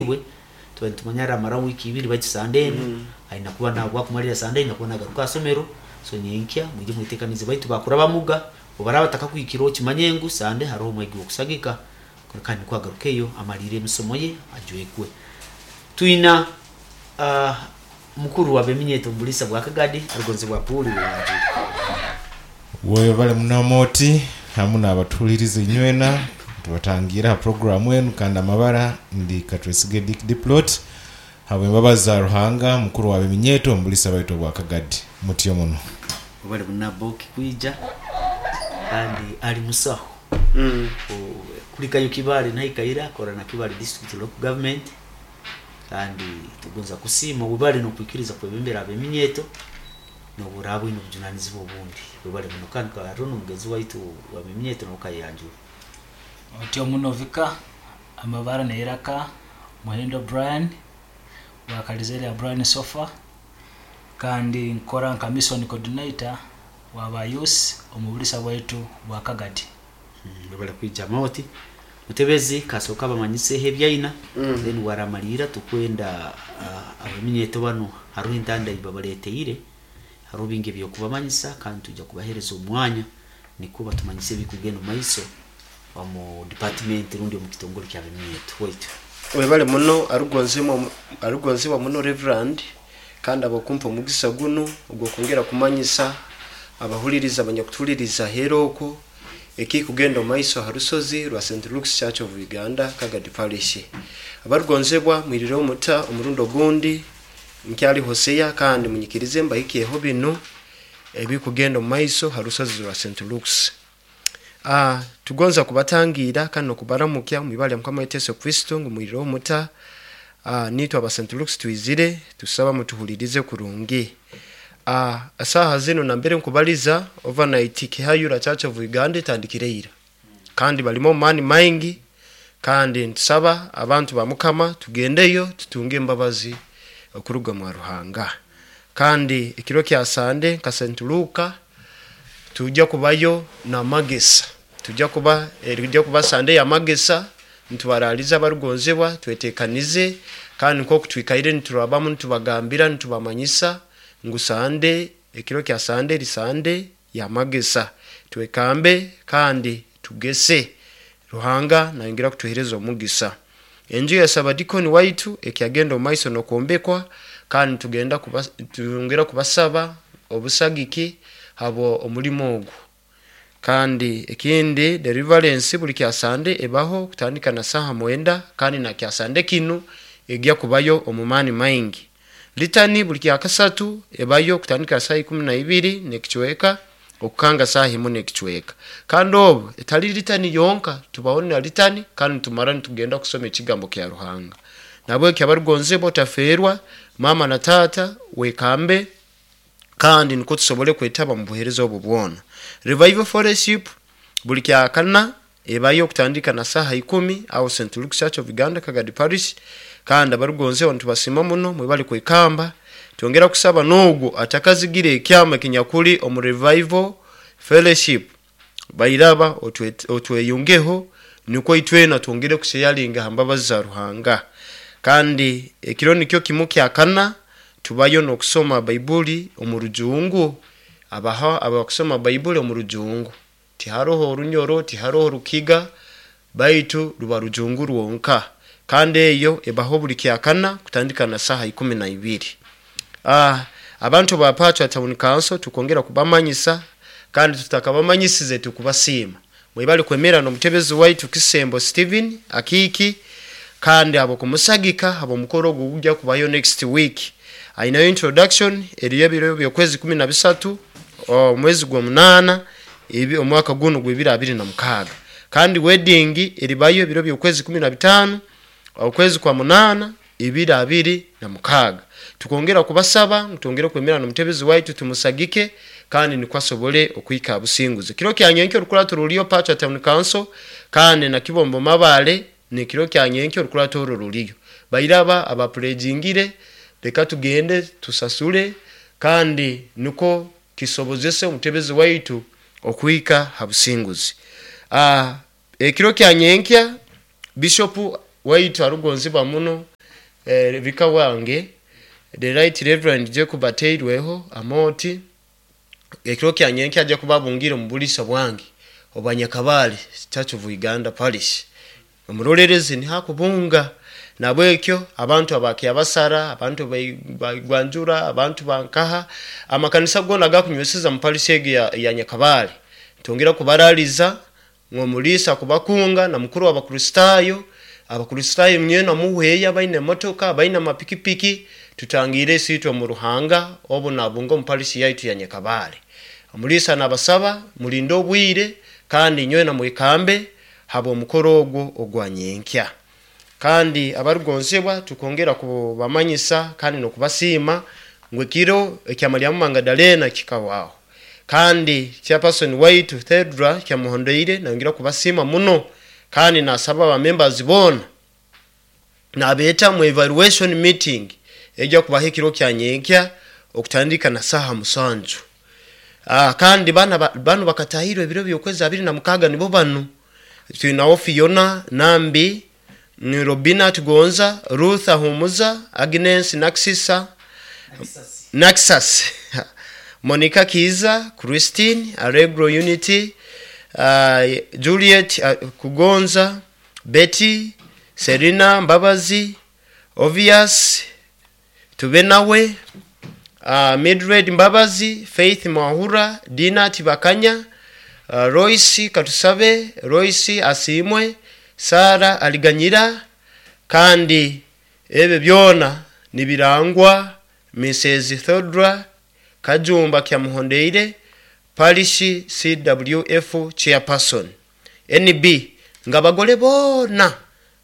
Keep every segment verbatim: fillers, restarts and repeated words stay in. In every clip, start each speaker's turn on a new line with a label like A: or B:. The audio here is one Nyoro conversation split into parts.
A: Bwe tuba nitumanya aramara wiiki ibiri, baitu Sande enu aina kuba nabwakumalira Sande aina kuba nagaruka asomero. So nyenkya mwije mwetekanize, baitu bakura bamuga obaraba batakakwikira, okimanye ngu Sande haroho omwegi wokusagika kandi nikwagarukeyo amalire emisomo ye ajwekwe. Twina uh, mukuru wa beminyeto mbulisa bwa Kagadi, arugonzebwa Puli Wanjuri.
B: Webale muno, hamu n'abatuhuliriza inywena. Tubatangira ha programu enu, kandi amabara ndi Katwesige Dick Diplot, habw'embabazi za Ruhanga, mukuru wa beminyeto mbulisa baitu obwa Kagadi. Mutyo muno.
A: Obale munaboki kwija, kandi ali musaho
C: Mm.
A: kulikayo Kibale naikaira akora na Kibale District Local Government, kandi tugonza kusiima webale nokwikiriza kwebembera abeminyeto noburaba bwine obujunanizibwa obundi. Webale muno. Kandi karono omugenzi waitu wa beminyeto nokayanjura.
D: Otyo muno vika. Amabara neiraka Muhindo Brian wakalizere ya Brian Sofa, kandi nkora nka mission coordinator wa youth omubulisa bwaitu bwa Kagadi.
A: Webale kwija. Moti mutebezi kasooka bamanyiseho ebyaina,
C: Mm.
A: then waramalira tukwenda uh, abeminyeto bano hariho entanda ibabaleteire, hariho bingi ebyokubamanyisa, kandi tujja kubahereza omwanya nikwo batumanyise ebikugenda omu maiso omu department rundi omu kitongole kya beminyeto waitu.
C: Webale muno, arugonzebwa arugonzebwa muno Reverend, kandi abakumpa omugisa guno ogwokongera kumanyisa abahuliriza abanyakutuhuliriza hera okwo ekikugenda omu maiso ha rusozi rwa Saint Luke's Church of Uganda, Kagadi Parish. Abarugonzebwa, mwirireho muta omurundi ogundi. Nkyali Hosea, kandi munyikirize mbahikyeho binu ebikugenda omu maiso ha rusozi rwa Saint Luke's. Ah, tugonza kubatangira kandi nokubaramukya mwibale ya Mukama waitu Yesu Kristo ngu mwirireho muta. Ah, nitwe aba Saint Luke's twizire tusaba mutuhulirize kurungi. Ah, asaha zino nambere nkubaliza, overnight Kihayura Church of Uganda etandikire ira, kandi balimo mani maingi, kandi ntusaba abantu ba Mukama tugendeyo tutunge embabazi okuruga mwa Ruhanga. Kandi ekiro kya Sande nka Saint Luka tujja kubayo na magesa, tujja kuba erijja kuba Sande ya magesa. Nitubaraliza abarugonzebwa twetekanize, kandi nkoku twikaire niturabamu nitubagambira, nitubamanyisa ngu Sande, ekiro kya Sande eri Sande ya magesa, twekambe kandi tugese. Ruhanga nayongera kutuhereza omugisa. Enju ya sabadikoni waitu ekyagenda omu maiso nokwombekwa, kandi tugenda kuba, tugenda kubasaba obusagiki habo omulimo ogu. Kandi ekindi, deliverance buli kya Sande ebaho kutandika na saha mwenda, kandi na kya Sande kinu egya kubayo omu maani maingi. Litani buli kya kasatu ebayo kutandika saha ikumi na ibiri nekicweka okukanga saha imu nekicweka. Kandi obu etali litani yonka, tubaho na litani kandi tumara nitugenda kusoma ekigambo kya Ruhanga. Nabwekyo abarugonzebwa, otaferwa mama na tata, wekambe kandi nikwo tusobole kwetaba mu buheereza obwo bwona. Revival Fellowship buli kya kana ebayo kutandika na saha ikumi aho Saint Luke Church of Uganda, Kagadi Parish. Kandi abarugonzeho nitubasima muno, mwebali kwekamba. Twongera kusaba n'ogwo atakazigira ekyama kinyakuli omu Revival Fellowship, bairaba otwe- otweyungeho nikwo itwena twongere kusheyalinga ha mbabazi za Ruhanga. Kandi ekiro nikyo kimu kya kana tubayo n'okusoma Baibuli omu Rujungu. Abaha abakusoma Baibuli omu Rujungu, tiharoho Orunyoro, tiharoho Rukiga, baitu ruba Rujungu rwonka, kandi eyo ebaho buli kyakana kutandika na saha ikumi na ibiri. Ah, abantu ba Pachwa Town Council tukongera kubamanyisa, kandi tutakabamanyisize tukubasiima, mwebali kwemera n'omutebezi waitu Kisembo Steven Akiki, kandi abo kumusagika abo mukoro ogwo gujja kubayo next week. Ainayo introduction eriyo ebiro by'okwezi kumi na bisatu omwezi gwa munana ebi omwaka guno gw'ebiri abiri na mukaaga, kandi wedding eribayo ebiro by'okwezi kumi na bitaano okwezi kwa munana ebiri abiri na mukaaga. Tukongera kubasaba ngu twongere kwemera n'omutebezi waitu, tumusagike kandi nikwo asobole okwika businguzi. Kiro kya nyenkyo orukurato ruliyo Pachwa Town Council, kandi na Kibombo Mabale nekiro kya nyenkyo orukurato orwo ruliyo. Bairaba abapurejingire, reka tugende tusasule kandi niko kisobozese omutebezi waitu okwika ha businguzi. Ah, ekiro kya nyenkya bishop waitu arugonzibwa muno eh, vika wange the right reverend Jacob Ateirweho Amoti ekiro kya nyenkya ajja kuba abungire mu bulisa bwange obwa Nyakabale Church of Uganda Parish. Omurolerezi nihakubunga nabwekyo abantu abakyabasara, abantu bagwanjura, abantu bankaha, amakanisa gona gakunyweseza mu parish egi ya, ya Nyakabale. Tongera kubaraliza ng'omulisa kubakunga na mukuru w'Abakristayo, Abakristayo mnyena muhweya baine motoka, baine amapikipiki, tutangire sitwe mu Ruhanga obu nabunga mu parish yaitu ya Nyakabale. Omulisa nabasaba mulinde obwire kandi nywena mwekambe habo omukoro ogwo ogwa nyenkya. Kandi abarugonzebwa tukongera kubamanyisa kandi nokubasiima ngu ekiro ekya Mariamu Magdalena kikawaho. Kandi chairperson waitu Thedra kyamuhondeire nayongera kubasiima muno, kandi nasaba aba members bona nabeeta mu evaluation meeting ejja kubaho ekiro kya nyenkya okutandika na saha musanju. Ah, kandi bana bano bakatahirwe ebiro by'okwezi abiri na mukaga nibo bano twinawo Fiona Nambi, ni Robina Tugonza, Ruth Ahumuza, Agnes Naxisa, Naxas, Monica Kiza, Christine Allegro Unity, uh, Juliet uh, Kugonza, Betty, Serena Mbabazi, Obvious Tubenawe, uh, Mildred Mbabazi, Faith Mwahura, Dina Tibakanya, uh, Royce Katusabe, Royce Asimwe, Sara Aliganyira. Kandi ebyo byona nibirangwa Missus Thodra Kajumba Kyamuhondeire, Parish C W F Chairperson. N B ngabagole bona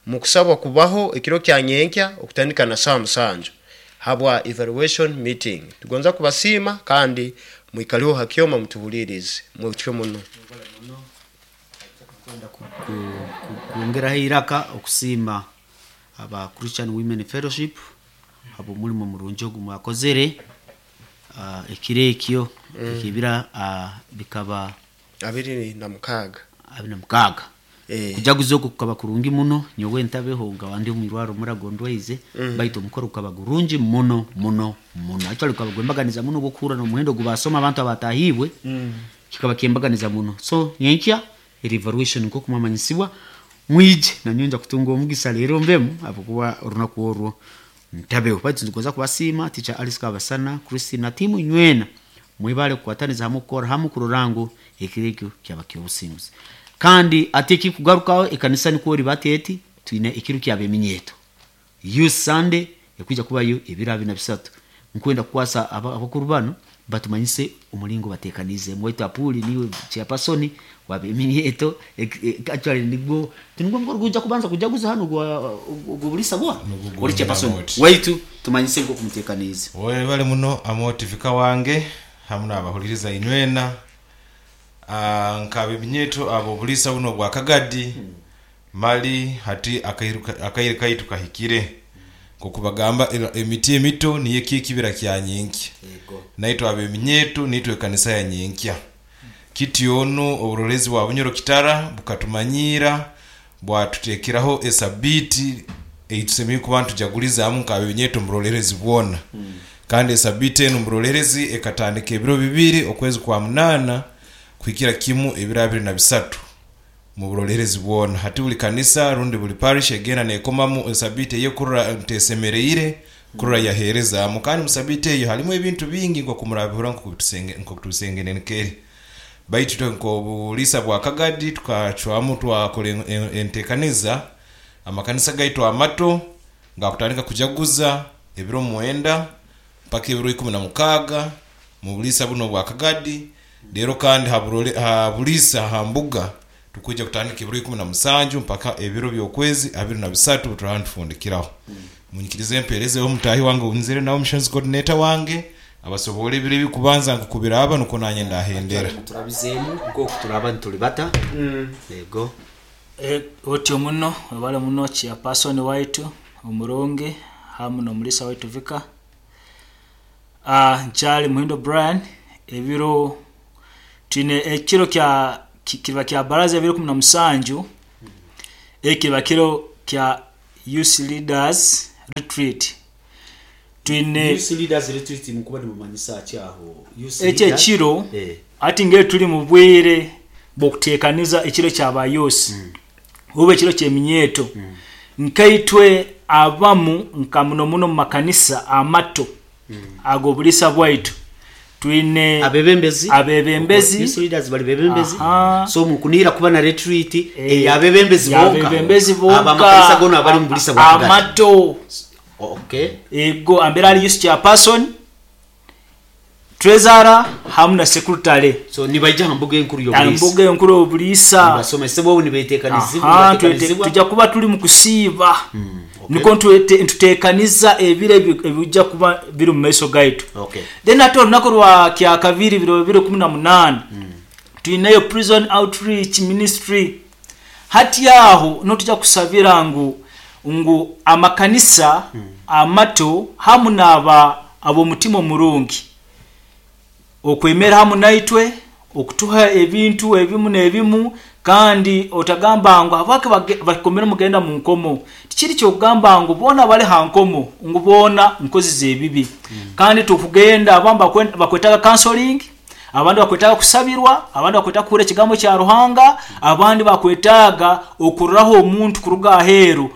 C: mukusabwa kubaho ekiro kya nyenkya okutandika na saa musanju habwa evaluation meeting. Tugonza kubasiima kandi mwikaliho hakyoma mutuhulirize mwekyo muno.
A: Kuongeraho iraka okusiima aba Christian Women Fellowship abo mulimo murungi ogu mwakozere, uh, ekiro ekyo mm. ekibira uh, bikaba
C: abiri na mukaga
A: abiri na mukaga eh. Kujaguza okwo kukaba kurungi muno, nyowe ntabeho nga wandi omwirwaro muragondweize mm. baitu omukoro gukaba gurungi muno muno muno. Actually gukaba gwembaganiza muno gwokuhura n'omuhendo gubasoma abantu abatahibwe mm. kikaba kyembaganiza muno. So nyenkya evaluation nko kumamanyisibwa mwije nanyonja kutunga omugisa leero mbemu abukuba orunaku orwo ntabeho. Baitu ndukoza kubasiima teacher Alice Kabasana, Christine na timu nywena mwibale kukwataniza hamwe kukora hamwe kurorango ekireko kyaba kyobusinguzi. Kandi ate kikugarukaho ekanisa niko ribateti twine ekiro kyabeminyeto Youth Sunday ekuja kubayo ebiro abiri na bisatu. Nkwenda kukwasa abakuru bano batumanyise omulingo batekanize mwaitu apuli niwe chairperson wabeminyeto actually nigwo tinigwo mukoro kuja kubanza kujaguza hano gwa gubulisa gwa ori chairperson waitu tumanyise ngo kumutekanize.
B: Wewe bali muno amotivika wange hamuna abahuliriza inywena ah nkabeminyeto abo bulisa buno bwa Kagadi hmm. Mali hati akaire kaitu kahikire kokubagamba emiti emito niye kikibira kya nyenkya naitwe abeminyeto nitwe kanisa ya nyenkya kiti ono oburolezi bwa Bunyoro Kitara bukatumanyira bwatutekeraho esabiti eitusemeye kuba tujaguliza amu nkabeminyeto murolerezi bwona hmm. Kandi esabiti eno murolerezi ekatandika ebiro bibiri okwezi kwa munana kuhikira kimu ebiro abiri na bisatu mu burolerezi bwona. Hati buli kanisa rundi buli parish egenda nekomamu esabiti eyekurra ntesemereire kurra yahereza mu. Kandi musabiti eyo halimu ebintu bingi nko kumurabihura nko kutusenge nko kutusengene nkeri baitu nko bulisa bwa Kagadi tukacwamu twakole entekaniza amakanisa gaitu amato ngakutandika kujaguza ebiro mwenda mpaka ebiro ikumi na mukaga mu bulisa buno bwa Kagadi. Lero kandi haburole habulisa hambuga tukuja kutandika ebiro ikumi na musanju mpaka ebiro by'okwezi abiri na bisatu turantufundikiraho. Mm. Munyikirize empereze omutahi wange unzire nawo missions coordinator wange abasobole ebiro bikubanza nkukubira aba nuko nanye ndahendera
A: turabizemu nko turaba ntulibata mm. Lego
D: e, otyo muno wale muno chairperson waitu omurungi hamu n'omulisa waitu vika ah nchali Muhindo Brian ebiro twine ekiro kya kiba kya baraza ebiro kumi na musanju ekiba kiro kya Youth Leaders Retreat. Twine
A: Youth Leaders Retreat mukuba nimumanyisa ki aho? Youth
D: ekyo
A: Leaders?
D: Ekiro
A: Eh.
D: ati ngeri tuli mu bwire bw'okuteekaniza ekiro ky'abayusi oba ekiro ky'eminyeeto, nkaitwe abamu nka muno muno mu makanisa amato ag'obulisa bwaitu twine
A: Abebembezi.
D: Abebembezi.
A: Youth leaders bali bebembezi.
D: Aha.
A: So mukunira kuba na retreat eyabebembezi bonka?
D: Yabebembezi bonka.
A: Abamakanisa gona abali mu bulisa bwa Kagadi.
D: Amato.
A: Okay.
D: Ego ambera ali youth chairperson, treasurer hamu na secretary.
A: So nibaija ha mbuga enkuru y'obulisa?
D: Ambuga enkuru y'obulisa.
A: Basomesebwa obu nibeteekanizibwa?
D: Aha, twete-
A: Nibateekanizibwa.
D: tujja kuba tuli mu kusiiba,
A: okay.
D: niko ntwete- ntuteekaniza ebiro ebi- ebijja kuba biri mu maiso gaitu.
A: Okay.
D: Then ate olunaku lwa kyakabiri, biro bibiri kumi na munaana, tulinayo prison outreach ministry. Hati aho notujja kusabira ngu ngu amakanisa amato hamu n'aba ab'omutima omurungi okwemera hamu naitwe okutuha ebintu ebimu n'ebimu. Kandi otagamba ngu habwaki bage- bakomere mugenda mu nkomo. Tikiri kyokugamba ngu boona bali ha nkomo ngu boona nkozi z'ebibi. Kandi tukugenda abamu bakwe- bakwetaga counseling, abandi bakwetaga kusabirwa, abandi bakwetaga kuhura ekigambo kya Ruhanga, abandi bakwetaga okururaho omuntu kuruga aheeru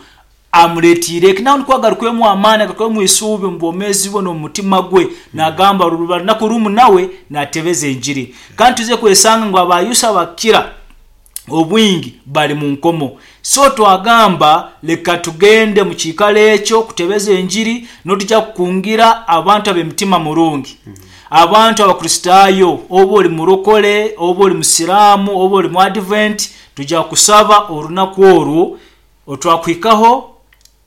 D: amuletiire eki nawe nikwo agarukwemu amaani, agarukwemu isuubi mu bwomeezi bwe n'omu mutima gwe, nagamba ruba lunaku rumu nawe natebeza enjiri. Kandi tuze kwesanga ngu abayusa bakira obwingi bali mu nkomo, so twagamba leka tugende mu kiikaro ekyo kutebeza enjiri. Notujja kukungira abantu ab'emitima murungi, abantu abakristaayo, oba oli murokole oba oli musiraamu oba oli mu Advent, tujja kusaba olunaku olwo otwakuhikaho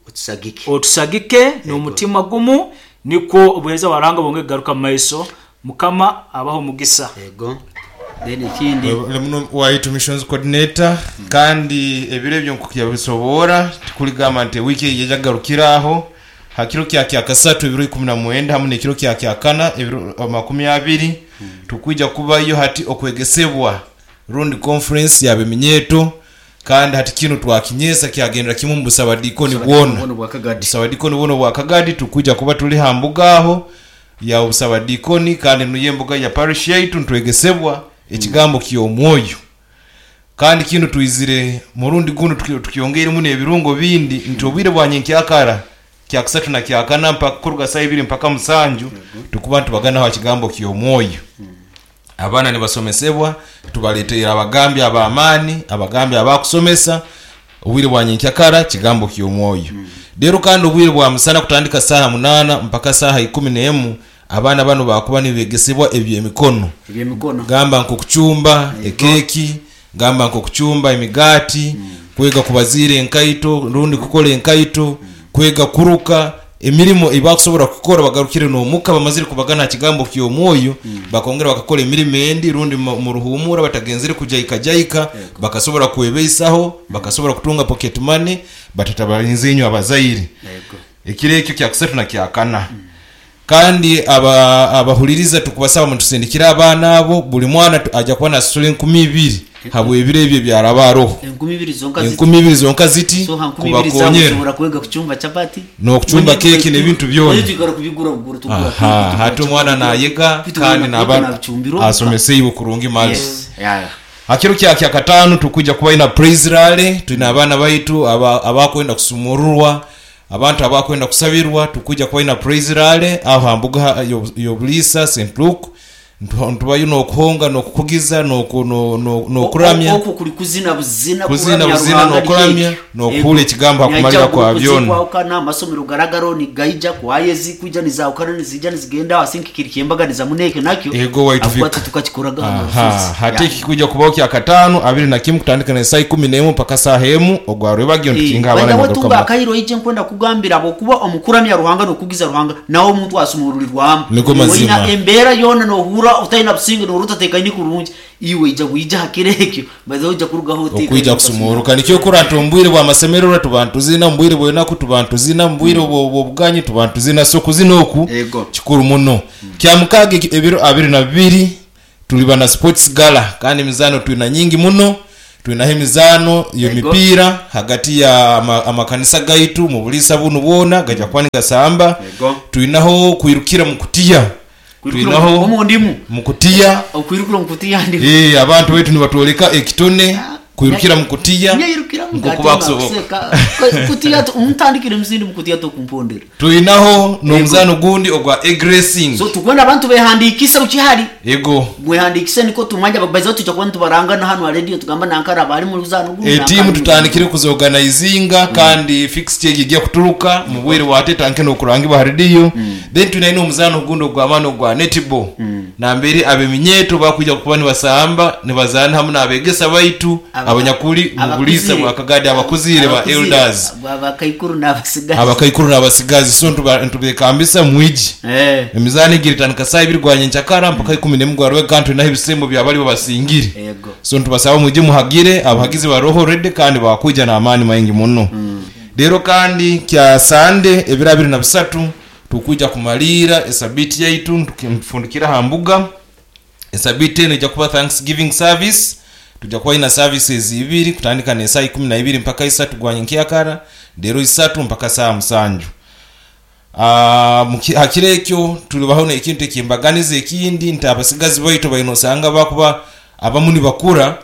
A: otusagike.
D: Otusagike n'omutima gumu, nikwo obuheereza bwa Ruhanga bwonge kugaruka mu maiso. Mukama abaho omugisa.
A: Ego, then ekindi?
B: Muno waitu missions coordinator, kandi ebiro ebyo nkuyabisobora tikuligamba nti wiiki eyi yajagarukiraho. Ha kiro kya kyakasatu ebiro ikumi na mwenda hamu n'ekiro kya kyakana ebiro makumi abiri, tukwija kubayo hati okwegesebwa rundi conference yabeminyeto. Kandi hati kino twakinyesa kyagendera kimu mu busabadikoni bwona.
C: Buno bwa Kagadi.
B: Busabadikoni buno bwa Kagadi, tukwija kuba tuli ha mbuga aho ya busabadikoni, kandi nuyo embuga ya parish yaitu, ntwegesebwa ekigambo ky'omwoyo. Kandi kino twizire murundi guno tuki- tukyongeiremu n'ebirungo bindi nti obwire bwa nyenkyakara kyakusatu na kyakana mpaka kuruga saa ibiri mpaka musanju tukuba ntubaganaho ha kigambo ky'omwoyo. Abaana nibasomesebwa, tubaleteera abagambi ab'amaani, abagambi abakusomesa obwire bwa nyenkyakara kigambo ky'omwoyo. Rero kandi obwire bwa musana kutandika saaha munaana mpaka saaha ikumi n'emu, abaana bano bakuba nibegesebwa ebyemikono.
A: Ebyemikono.
B: Gamba nkokucumba ekeki, gamba nkokucumba emigaati, kwega kubaziira enkaito rundi kukora enkaito, kwega kuruka, emirimu ebakusobora kukora bagarukire n'omuka bamazire kubagana ha kigambo ky'omwoyo, bakongera bakakora emirimu endi rundi mu mu ruhumura batagenzere kujaika bakasobora kwebeisaho, bakasobora kutunga pocket money batatabalinze inyo abazaire.
A: Ego.
B: Ekiro ekyo kyakusatu na kyakana. Kandi aba abahuliriza tukubasaba mutusindikire abaana abo. Buli mwana tu- ajja kuba nasasula enkumi ibiri habw'ebiro ebyo byaraba aroho.
A: Enkumi ibiri zonka ziti?
B: Enkumi ibiri zonka ziti.
A: So ha nkumi ibiri zawe
B: kubakonyera
A: ushobora kwega kuchumba chapati
B: N'okuchumba keki n'ebintu byona.
A: Twikara kubigura bugura tugura.
B: Aha, hati omwana nayega kandi naba asomeseiwe kurungi mali.
A: Yes, yeah.
B: Hakiro kya kyakatano tukuja kuba ina praise rally. Tulina abaana baitu aba- abakwenda kusumururwa, abantu abakwenda kusabirwa. Tukuja kuba ina praise rally aho hambuga yo- y'obulisa Saint Luke. Ntu- ntubayo n'okuhonga n'okukugiza n'oku- no- no- n'okuramya.
A: Okwo kuli kuzina buzina.
B: Kuzina
A: kuramya
B: buzina
A: Ruhanga.
B: n'okuramya,
A: Nikyo.
B: n'okuhula ekigambo hakumalira kwa byona.
A: Kwahukana amasomero garagaro nigaija kwayezi kuija nizahukana nizija nizigenda asinki kiri kyembaganiza muneke nakyo.
B: Ego, waitu
A: Akuba
B: Vika.
A: tukakikoraga hano
B: Aha,
A: Rusizi.
B: hati
A: Ya.
B: kikuja kubaho kyakatano abiri na kimu kutandika na saa ikumi n'emu mpaka saaha emu ogwarwebagyo ntukinga abaana
A: Wenda
B: nibagaruka
A: wetunga
B: mu-
A: akahiro ije nkwenda kugambira abo kuba omukuramya Ruhanga nokugiza Ruhanga nawe omuntu asumurulirwamu.
B: Niko mazima.
A: Oina embeera yona nohura utaina businge nohura utatekanye kurungi, iwe ija bwija hakiro ekyo baze ojja kurugaho otekanye.
B: Okwija kusumuruka nikyo kurata omu bwire bw'amasemererwa tuba ntuzina, mu bwire bw'enaku tuba ntuzina, mu bwire bw'obuganyi tuba ntuzina. So kuzina oku
A: Ego.
B: kikuru muno. Kya mukaaga eki- ebiro abiri na bibiri tuliba na sports gala, kandi emizaano tulina nyingi muno. Twinaho emizaano
A: Yego.
B: y'emipiira hagati ya ama- amakanisa gaitu mu buliisa bunu bwona gajja kuba nigasamba.
A: Yego.
B: Twinaho kwirukira mu kutiya, twinaho
A: omu ndimu
B: mu kutiya.
A: Okwirukira omu kutiya ndimu.
B: Eh, abantu baitu nibatwoleka ekitone kwirukira mu kutiya
A: Nyayirukira mu
B: nkoku bakusoboka.
A: Kutiya ntandikire musindi mu kutiya tokumpondera.
B: Twinaho n'omuzaano gundi ogwa egg racing.
A: So tukwenda abantu behandikisa ukihari.
B: Yego.
A: Mwehandikise niko tumanya babaza tujya kuba tubaranga na hano ha radio tugamba nankara bari mu ruzano guno.
B: Etiimu tutandikire kuzoganizinga kandi fixture egi ejja kuturuka mu bwire bwatetanke n'okurangibwa ha rediyo. Then twinaine omuzaano ogundi ogw'amaani ogwa netball, nambere abeminyeeto bakwija kuba nibasamba nibazaana hamu n'abegesa baitu
A: Aba-
B: abanyakuli mu buliisa bwa Kagadi, abakuzire ba elders,
A: abakaikuru n'abasigazi.
B: Abakaikuru n'abasigazi. So ntuba- ntubekambisa mwiji.
A: Eh.
B: Emizaano egyo eritandika saa ibiri gwa nyenkyakara mpaka ikumi n'emu gwa rwego, kandi twinaho ebisembo byabali babasingire.
A: Yego.
B: So ntubasaba mwije muhagire, abahagizi baroho rede kandi bakwija n'amaani maingi muno. Rero kandi kya sande ebiro abiri na bisatu tukwija kumaliira esabiti yaitu ntufundikira ha mbuga. Esabiti eno ijja kuba thanksgiving service. Tujja kuba ina services ibiri, kutandika n'esaa ikumi na ibiri mpaka isatu gwa nyenkyakara, rero isatu mpaka saa musanju. Ah, muki- hakiro ekyo tulibaho n'ekintu ekyembaganiza ekindi nti abasigazi baitu baine osanga bakuba abamu nibakura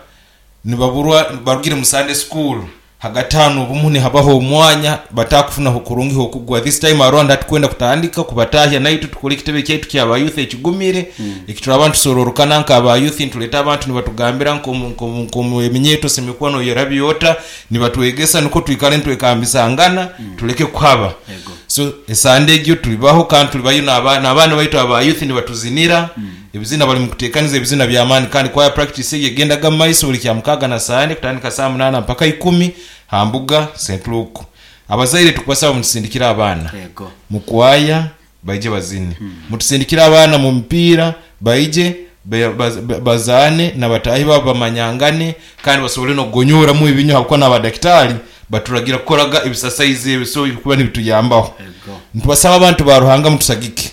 B: nibaburwa barugire mu Sunday school, hagati hano obumu nihabaho omwanya batakufunaho kurungi hokugwa. This time around hatukwenda kutandika kubatahya naitu tukore ekitebe kyaitu kyaba youth ekigumire, ekitura tusororokana nk'aba youth, ntuleta abantu nibatugambira nkomu eminyeto semikuano yerabyota nibatwegesa niko twikale ntwekambisangana tuleke kuhaba.
A: Yego.
B: So esande egyo tulibaho kandi tulibayo n'aba- n'abaana baitu aba youth nibatuzinira ebizina, bali mukutekaniza ebizina by'amaani. Kandi kwaya practice egyo egendaga mu maiso buli kyamukaga na sande kutandika saa munaana mpaka ikumi ha mbuga Saint Luke. Abazaire tukubasaba mutusindikire abaana
A: Yego.
B: mukwaya baije bazine, mutusindikire abaana mu mipiira baije ba- ba- ba- bazaane nabatahi babo bamanyangane kandi basobole n'okugonyoramu ebinyo, habwokuba n'abadakitari baturagira kukoraga ebisasaizi ebyo, so kuba nibituyambaho.
A: Yego.
B: Ntubasaba abantu ba Ruhanga mutusagike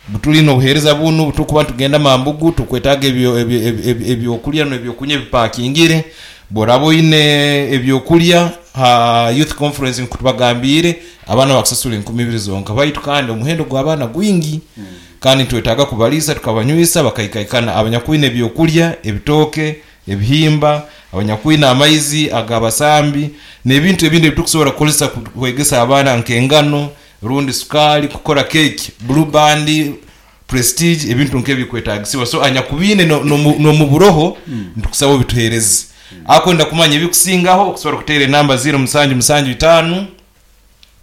B: butulina obuheereza bunu butukuba tugenda mambugu tukwetaaga ebyo- ebyo- ebyo- ebyo- ebyokulya n'ebyokunywa ebipakingire. Boraba oine ebyokulya ha youth conference nkutubagambiire abaana bakusasula enkumi ibiri zonka, baitu kandi omuhendo gw'abaana gwingi kandi ntwetaaga kubaliisa tukabanywisa bakaikaikana. Abanyakwine ebyokulya, ebitooke, ebihimba, abanyakwine amaizi ag'abasambi n'ebintu ebindi ebitukusobola kukozesa ku- kwegesa abaana nk'engano rundi sukali kukora keki, Blue Band, Prestige, ebintu nk'ebikwetagisibwa. So anyakubiine n'omu buroho ntukusaba obituhereze. Akwenda kumanya ebikusingaho okusobola kuteera enamba ziro musanju musanju itaano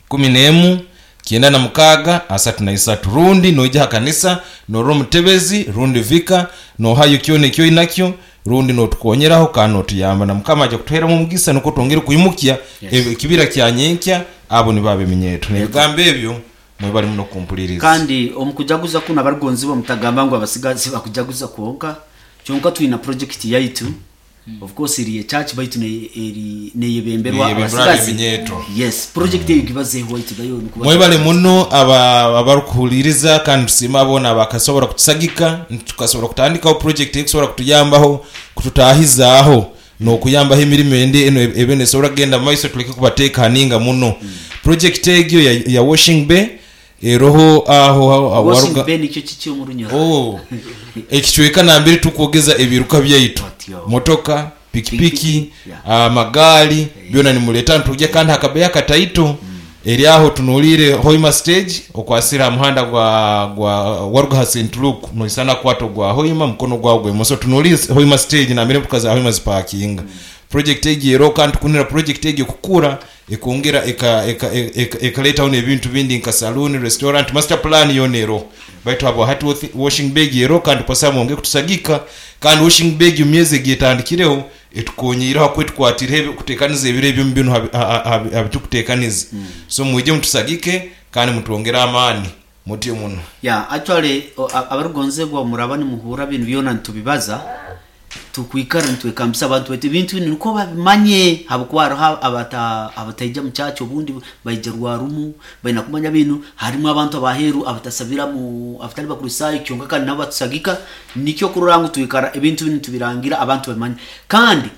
B: kumi n'emu kyenda na mukaaga asatu na isatu, rundi noija ha kanisa norora omutebezi rundi vika nohayo kyona ekyoinakyo, rundi notukonyeraho kandi notuyamba, na Mukama aja kutuheramu omugisa nukwo twongere kwimukya
A: Yes.
B: ekibira kya nyenkya. Abo nibo abeminyeeto n'ebigambo ebyo mwebali muno kumpuliriza.
A: Kandi omukujaguza kuno abarugonzibwa mutagamba ngu abasigazi bakujaguza kwonka kyonka, twina project yaitu, of course eri church baitu ne- eri neyebemberwa
B: Neyebemberwa
A: abasigazi.
B: ab'eminyeeto.
A: Yes, project eyo gibazeho waitu nayo nikuba-
B: Mwebale muno aba- abarukuhuliriza kandi tusiima aboona bakasobora kutusagika tukasobora kutandikaho project ekusobora kutuyambaho kututahizaaho n'okuyambaho emirimu endi eno ebe nesobora kugenda mu maiso tuleke kubateekaninga muno. Project egyo ya, ya washing bay eroho aho aho-
A: Washing
B: waruga-
A: bay nicyo kiki omu Runyoro?
B: Oh, ekicweka nambere tukwogeza ebiruka byaitu,
A: Otyo.
B: motoka, pikipiki,
A: Pikipiki, yeah.
B: amagaali byona nimuleta ntujja, kandi hakabeya akataito eri aho tunuliire Hoima stage okwasira ha muhanda gwa gwa waruga ha Saint Luke noisana kwato gwa Hoima mukono gwawe gwemoso, tunuliire Hoima stage nambere motoka za Hoima zipakinga. Project egi ero kandi tukunira project egi kukura ekongera eka- eka- eka- ekaletaho n'ebintu bindi nka saloon, restaurant, master plan yona ero. Baitu abo hati wothi- washing bag ero kandi kwasa mwonge kutusagika. Kandi washing bag myezi egitandikireho etukonyireho akwetukwatire kutekaniza ebiro ebyo bino habitukutekaniza. So mwije mutusagike kandi mutwongere amaani mutyo muno.
A: Yeah, actually o- a- abarugonzebwa muraba nimuhura bintu byona nitubibaza, tukwikara nitwekambisa abantu baitu ebintu binu niko babimanye, habwokuba hariho abata abataija mu church obundi baija rwarumu baina kumanya binu. Harimu abantu abaheru abatasabira mu abatali bakristayo kyonka kandi nabo batusagika. Nikyo kurora ngu twikara ebintu binu tubirangira abantu babimanye. Kandi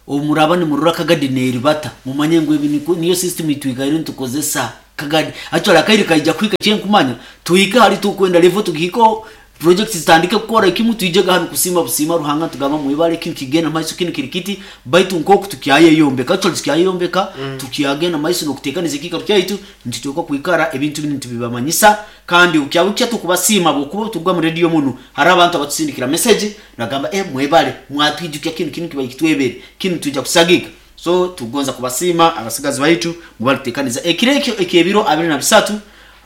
A: Omuraba nimurora Kagadi neribata, mumanye ngu ebi niko- niyo system itwikaire nitukozesa Kagadi. Actually akaire kaija kuhika kyenkumanya tuhike hali tukwenda level tugihiko project zitandike kukora ekimu tuijega hanu kusima busima Ruhanga tugamba mwibale kinu kigenda maiso kinu kiri kiti baitu nkoku tukyayeyombeka actually tukyayeyombeka mm. tukyagenda maiso nokutekaniza ekikaro kyaitu nituteekwa kwikara ebintu binu tubibamanyisa kandi ukyabukya tukubasiima bwokuba turuga mu radio muno hari abantu abatusindikira message nagamba eh mwebale mwatwijukya kinu kinu kiba kitwebere kinu tuja kusagika. So tugonza kubasiima abasigazi baitu mubali tutekaniza ekiro ekyo ekyebiro abiri na bisatu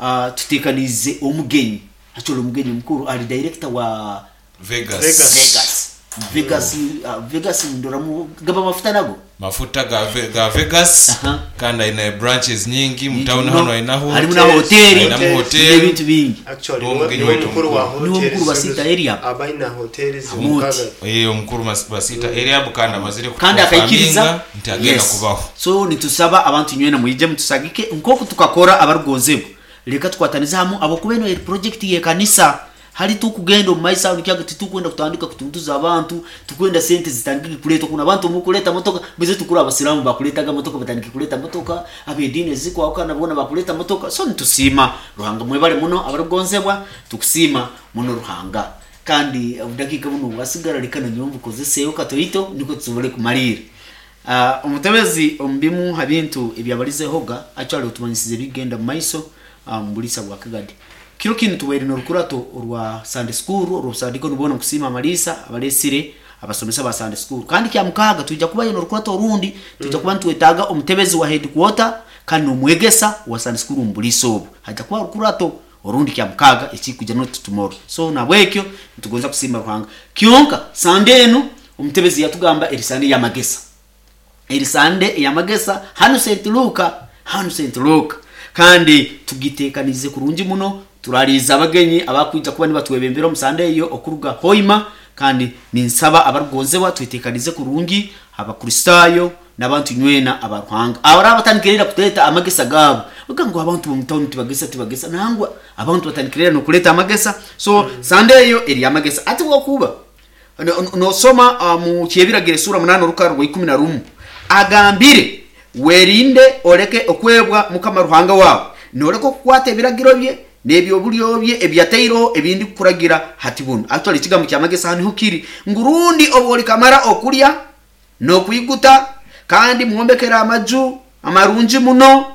A: uh, tutekanize omugenyi. Actually omugenyi mukuru ali director wa
B: Vegas.
C: Vegas.
A: Vegas. Vegas, uh, Vegas ndoramu gaba mafuta nago
B: Mafuta ga, Ve- ga Vegas.
A: Aha.
B: Kandi aina branches nyingi mu town
A: Muno.
B: hano ainaho
A: Harimu na hoteli.
B: Ainamu hoteli.
A: Ebintu bingi.
C: Actually,
B: Niwo
C: niwe
B: mugenyi
C: niwe
B: waitu
C: mukuru wa
A: Niwo
C: hoteli
A: mukuru wa Sita area.
C: Abaina hoteli
A: Muti.
C: zimukaga.
B: Eh, omukuru mas- basita area kandi amazire
A: kandi akaikiriza
B: nti agenda
A: Yes.
B: kubaho.
A: So nitusaba abantu nywena mwije mutusagike nkoku tukakora abarugonzebwa leka tukwataniza hamu abokuba eno project ye kanisa hali tukugenda omu maiso aho nikyaga titukwenda kutandika kutuntuza abantu tukwenda sente zitandike kuleta kuna abantu mukuleta motoka bize tukura abasilamu bakuletaga motoka batandike kuleta motoka abedini ezikwawukana bona bakuleta motoka. So nitusima Ruhanga mwebale muno abarugonzebwa tukusima muno Ruhanga kandi obudakika buno bwasigara leka nanyombu kozeseyo katoito niko tusobole kumalira. Uh, omutebezi omubimu ha bintu ebyabalizehoga actually otumanyisize bigenda mu maiso um, bulisa bwa Kagadi. Kiro kinu tubaire n'orukurato orwa Sunday school orw'obusadiko nibona nkusima amalisa abalesire abasomesa ba Sunday school kandi kya mukaga tuija kubayo n'orukurato orundi tuija kuba nitwetaaga omutebezi wa headquarter kandi n'omwegesa wa Sunday school omu bulisa obu haija kuba orukurato orundi kya mukaga ekikuja not tomorrow. So nabwekyo nitugonza kusima Ruhanga kyonka Sunday enu omutebezi yatugamba eri Sunday y'amagesa eri Sunday ey'amagesa hanu Saint Luka hanu Saint Luka kandi tugitekanize kurungi muno turaliza abagenyi abakwija kuba nibatwebembera omu Sunday eyo okuruga Hoima kandi ninsaba abarugonzebwa twetekanize kurungi abakristayo n'abantu nywena abaruhanga abara batandikirira kuteta amagesa gabo uga ngo abantu bo mutawuni tibagesa tibagesa nangwa abantu batandikirira no kuleta amagesa. So mm. Sunday eyo eri amagesa ati wokuba nosoma no uh, mu kyebiragire sura munana orukaro rwa ikumi na rumu agambire werinde oleke okwebwa Mukama Ruhanga wawe noreke okukwata ebiragiro bye n'ebyobulyo bye ebyateiro ebindi kuragira hati buno. Actually ekigambo kyamagesa hanu kiri ngurundi obwolikamara okulya n'okwiguta kandi mwombekera amaju amarungi muno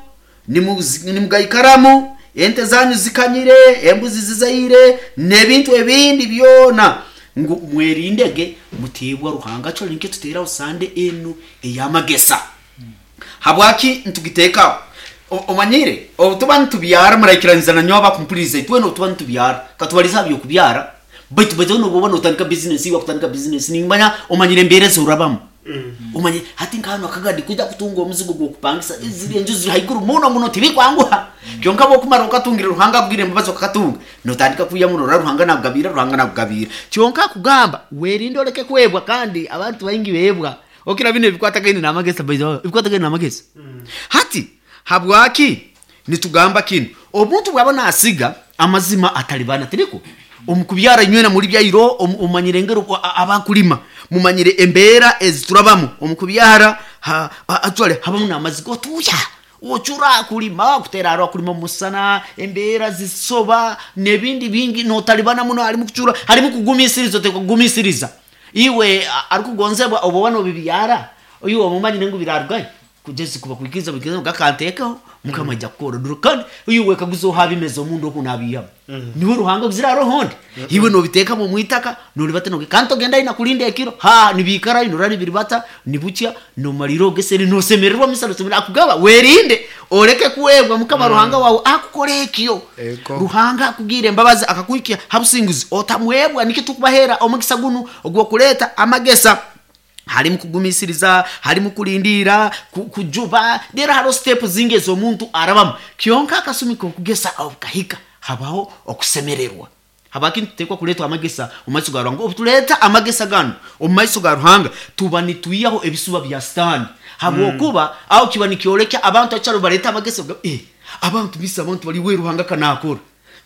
A: nimugaikaramu ente zanyu zikanyire embuzi zizaire n'ebintu ebindi byona ngu mwerindege mutibwa Ruhanga. Actually nikyo tuteraho Sunday enu ey'amagesa. Habwaki ntugitekaho omanyire obutuba nitubyara muraikiraniza na nyoba bakumpuliriza itwe notuba nitubyara katubaliza byokubyara baitu baitu nobuba notandika business iwa kutandika business nimanya omanyire embere zorabamu omanye hati nkano Akagadi kuja kutunga omuzigo gwokupangisa ziri enju ziri haiguru muno muno tibikwanguha kyonka bokumara okatungira Ruhanga akugire embabazi okakatunga notandika kuya muno ora Ruhanga nakugabira Ruhanga nakugabira kyonka akugamba werinde oleke kwebwa kandi abantu baingi bebwa okira bino ebikwatagaine n'amagesa by the way ebikwatagaine n'amagesa hati habwaki nitugamba kino omuntu bwaba nasiga amazima atalibana tiriko omukubyara nywena muri byairo omanyire ngero abakulima mumanyire embera eziturabamu omukubyara actually habamu n'amazigo tuya ochura kulima kutera aro kulima musana embera zisoba nebindi bingi notalibana muno harimu kuchura harimu kugumisiriza tekugumisiriza iwe arikugonzebwa obo bano bibyara uyu omumanyire ngo birarwaye kugeza kuba kuikiza bikiza gakantekaho Mukama ajja kukora duro kandi uyu wekaguzo habimezo omundu okunabiyamo mm. niwe Ruhanga kuzira rohondi mm -hmm. iwe nobiteka mu mwitaka nolibata no kanto genda ina kulinda ekiro ha nibikara inorani biribata nibucha no maliro geseri no semererwa misalo semera akugaba werinde oleke kuwebwa Mukama mm. Ruhanga wawe akukora ekyo Ruhanga akugire embabazi akakuikia habusinguzi otamwebwa nikyo tukubahera omukisa gunu ogwo kuleta amagesa harimu kugumisiriza harimu kulindira kujuba dera haro step zingi z'omuntu arabamu kyonka akasumi kokugesa okahika habaho okusemererwa habaki tutekwa kuletwa amagesa omu maiso ga Ruhanga obutuleta amagesa gano omu maiso ga Ruhanga tuba nituiyaho ebisuba bya Sitani habwokuba mm. aho kiba nikyolekya abantu akyalo baleta amagesa eh abantu bisa abantu bali we Ruhanga kanakora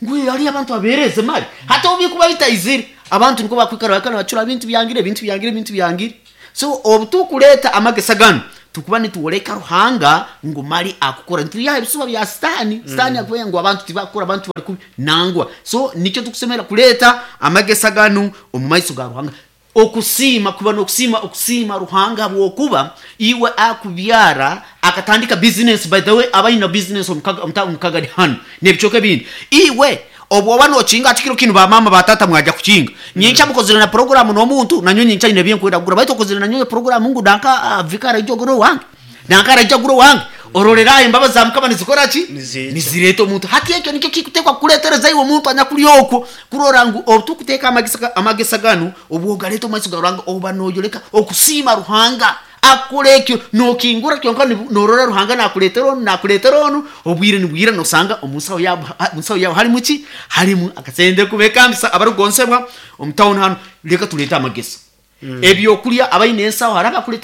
A: ngwe ali abantu abereze mali hata obikuba bitayizire abantu niko bakwikara bakana bacura bintu byangire bintu byangire bintu byangire So obu tukuleeta amagesa ganu, tukuba nitwoleka Ruhanga ngu mali akukora, nitwihaho ebisuba bya Sitaani. Sitaani akuba ngu abantu tibakukora, abantu bali kubi nangwa. So nikyo tukusemera kuleeta amagesa ganu omu maiso ga Ruhanga, okusiima, kuba n'okusiima, okusiima Ruhanga habwokuba iwe akubyara akatandika business. By the way, abaina business omu Kagadi hanu n'ebicweka ebindi, iwe obwoba nokinga ati kiro kinu bamama batata mwajja kukinga nyenkya, mukozere na programu n'omuntu nanyo nyenkya ine ebyenkwenda kugura, baitu okozere nanyo programu ngu danka uh, vikara ijja ogura owange, danka araijja agura owange, ororeraho embabazi za Mukama nizikora ki?
C: Niziija.
A: Nizireeta omuntu. Hati ekyo nikyo kikutekwa kukuletereza iwe omuntu anyakuli okwo kurora ngu obutukuteeka amagesa, amagesa ganu obwogaleeta omu maiso ga Ruhanga, oba noyoleka okusiima Ruhanga akukora ekyo, nokingura kyonka nibu- norora Ruhanga nakuleetera onu, nakuleetera onu, obwire nibwira nosanga omunsaho yabo, munsaho yawe halimu ki? Halimu akasente. Kubekambisa abarugonsebwa omu town hanu, leka tuleete amagesa, ebyokulya, abaine ensaho hari abakuleeta.